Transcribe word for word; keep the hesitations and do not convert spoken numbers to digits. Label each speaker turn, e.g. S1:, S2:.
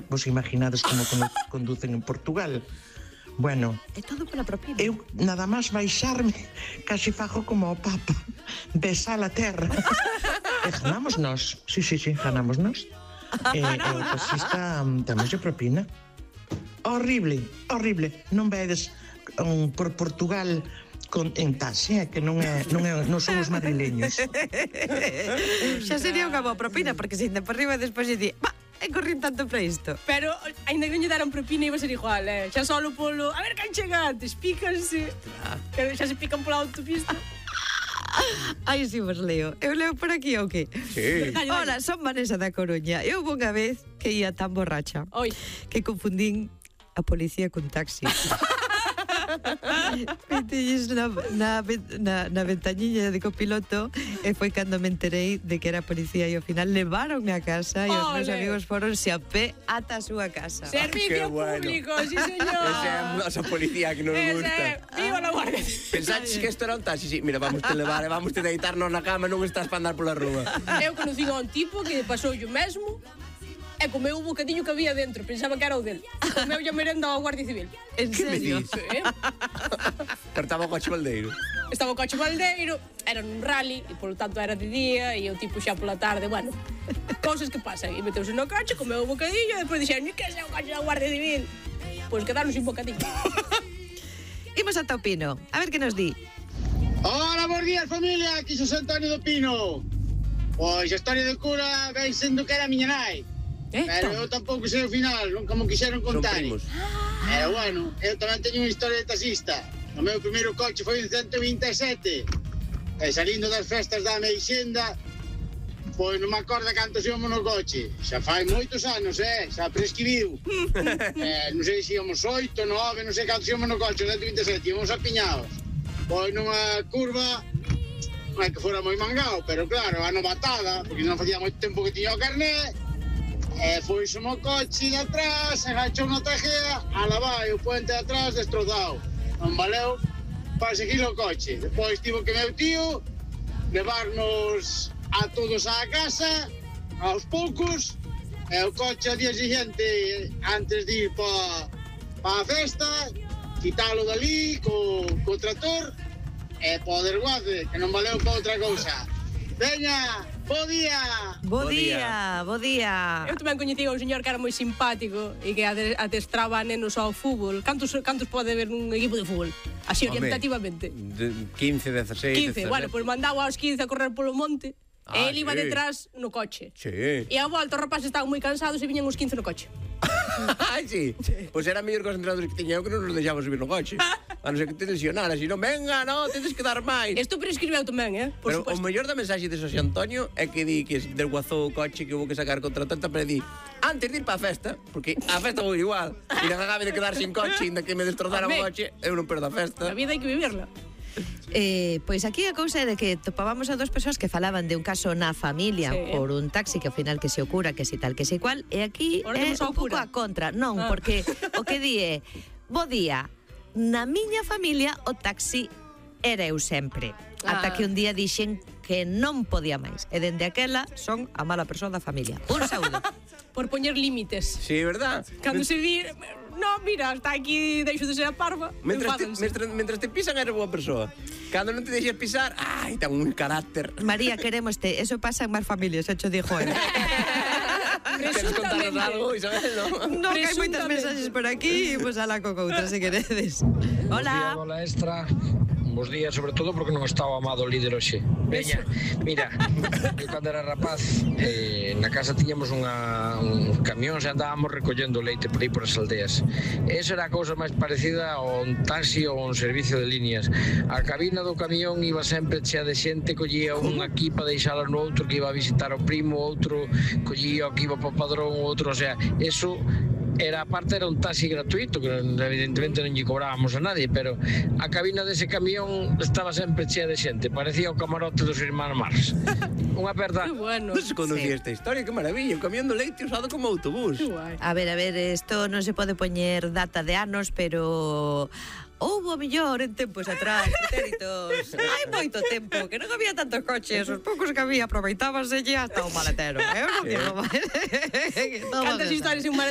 S1: Vos imaginades como conducen en Portugal. Bueno,
S2: é todo pola propina.
S1: Eu nada máis baixarme casi fajo como o Papa, besar a terra. E ganamos nós, sí, sí, sí, ganamos nós. E o taxista tamén se propina. Horrible, horrible. Non vedes um, por Portugal con, en taxi, eh, que non é, non é, non son os madrileños.
S2: Xa sería unha boa propina, porque se inde por riba e despois lle di, va, e corrín tanto para isto.
S3: Pero, ainda que non lle deran propina, iba a ser igual, eh? Xa solo polo... A ver, can chega antes, pícanse. Que xa se pican pola autopista.
S2: Ai, si vos leo. Eu leo por aquí, ou que?
S4: Sí.
S2: Hola, son Vanessa da Coruña. Eu unha vez que ia tan borracha
S3: Oi.
S2: que confundín a policía con taxi. Metelles na, na, na, na ventañiña de copiloto e foi cando me enterei de que era policía e ao final levaronme a casa e os meus amigos foronse a pé ata a súa casa.
S3: Servicio
S4: bueno.
S3: público, sí señor.
S4: Esa é a nosa policía que nos gusta.
S3: Viva la Guardia.
S4: Pensaches que isto era un taxi? Sí, mira, vamos te levar, vamos te deitarnos na cama, non estás para andar pola rúa.
S3: Eu conocí a un tipo que pasou o mesmo e comeu o bocadillo que había dentro. Pensaba que era o del. Comeu a merenda ao Guardia Civil.
S2: En
S4: Que me
S2: serio?
S4: dis?
S3: Sí.
S4: Pero estaba o coche baldeiro.
S3: Estaba o coche baldeiro, era nun rally, e polo tanto era de día, e o tipo xa pola tarde, bueno, cousas que pasan. E meteuse no coche, comeu o bocadillo, e depois dixeron, que é o coche da Guardia Civil? Pois quedaron sin bocadillo.
S2: Imos ata o Pino. A ver que nos di.
S5: Hola, bons días, familia, aquí Xosé Antonio do Pino. Pois a historia do cura ven sendo que era a miña nai.
S3: Eh,
S5: Pero eu tampouco sei o final, non como quixeron
S4: Son
S5: contar.
S4: primos.
S5: Pero bueno, eu tamén teño unha historia de taxista. O meu primeiro coche foi un ciento vinte e sete. E salindo das festas da Meixenda, pois non me acorda cantos íamos no coche. Xa fai moitos anos, eh? Xa prescribiu. eh, non sei se íamos oito, nove, non sei cantos íamos no coche, ciento vinte e sete, íamos apiñados. Pois nunha curva, non é que fora moi mangao, pero claro, a novatada, porque non facía moito tempo que tiña o carné, e foi o coche de atrás, agachou na tejea, ala vai, o puente de atrás destrozado. Non valeu para seguir o coche. Depois tivo que meu tío levarnos a todos á casa, aos poucos, e o coche ao día siguiente, antes de ir pa, pa a festa, quitalo dali co, co trator, e po desguace, que non valeu pa outra cousa. Veña, bo día!
S2: Bo
S4: Bo
S2: día, bo día.
S3: Eu tamén coñecía un señor que era moi simpático e que ade- adestraba a nenos ao fútbol. Cantos, cantos pode haber nun equipo de fútbol? Así
S4: Home,
S3: orientativamente.
S4: de quince, dezasseis,
S3: quince, bueno, pois pues mandaba aos quince a correr polo monte
S4: Ah,
S3: e ele iba
S4: sí.
S3: detrás no coche.
S4: Sí.
S3: E a volta os rapaces estaban moi cansados e viñan os quince no coche.
S4: Ai, sí. Pois era mellor que os entrenadores que tiña eu que non nos deixaba subir no coche. A non ser que te lesionara, si non, venga, no, tedes que dar máis.
S3: Isto prescribeu tamén, eh? Por
S4: Pero o
S3: suposto.
S4: mellor da mensaxe de Xosé Antonio é que di que desguazou o coche que hubo que sacar contra tanta, pero di, antes de ir para a festa, porque a festa vou igual, e non acabe de quedar sin coche, ainda que me destrozara o
S3: Home.
S4: coche, eu non perdo a festa.
S3: A vida hai que vivirla.
S2: Eh, pois aquí a cousa é de que topábamos a dos persoas que falaban de un caso na familia
S3: Sí.
S2: por un taxi que ao final que se ocura, que si tal, que si cual, e aquí
S3: Ahora
S2: é
S3: temos ao
S2: un pouco
S3: cura.
S2: a contra. Non,
S3: Ah.
S2: porque o que di é, bo día, na miña familia o taxi era eu sempre. Ata
S3: Ah.
S2: que un día dixen que non podía máis. E dende aquela son a mala persoa da familia. Un saúdo.
S3: Por poñer límites.
S4: Sí, verdad?
S3: Cando se di, no, mira, hasta aquí deixo de ser a parva,
S4: Mentras te,
S3: enfádanse.
S4: mentras, mentras te pisan eres boa persoa. Cando non te deixes pisar, ai, ten un carácter.
S2: María, queremoste. Eso pasa en máis familias, xa cho dixo el.
S4: Queres contarnos algo, Isabel, non?
S2: Non, que hai moitas
S3: Presuntamente.
S2: mensaxes por aquí, pois pues, ala co coutra, se queredes. Hola.
S6: Hola, extra. Bos días, sobre todo porque non está o amado líder hoxe. Veña, mira, eu cando era rapaz, eh, na casa tiñamos unha, un camión e andábamos recollendo leite por aí por as aldeas. Esa era a cousa máis parecida a un taxi ou un servicio de líneas. A cabina do camión iba sempre chea de xente, collía un aquí para deixala no outro que iba a visitar o primo, outro collía o que iba para o padrón, outro, o sea, eso era, aparte era un taxi gratuito, que evidentemente non lle cobrábamos a nadie, pero a cabina dese camión estaba sempre chea de xente, parecía o camarote dos irmáns Marx. Unha aperta.
S3: Que bueno.
S4: Non se conocía
S2: Sí.
S4: esta historia, que maravilla, un camión de leite usado como autobús.
S3: Que guai.
S2: A ver, a ver, isto non se pode poñer data de anos, pero houbo mellor en tempos atrás, pretéritos. Hai moito tempo, que non había tantos coches, os poucos que había aproveitábanse hasta o maletero. Eu non digo máis.
S3: Cantas historias en un maletero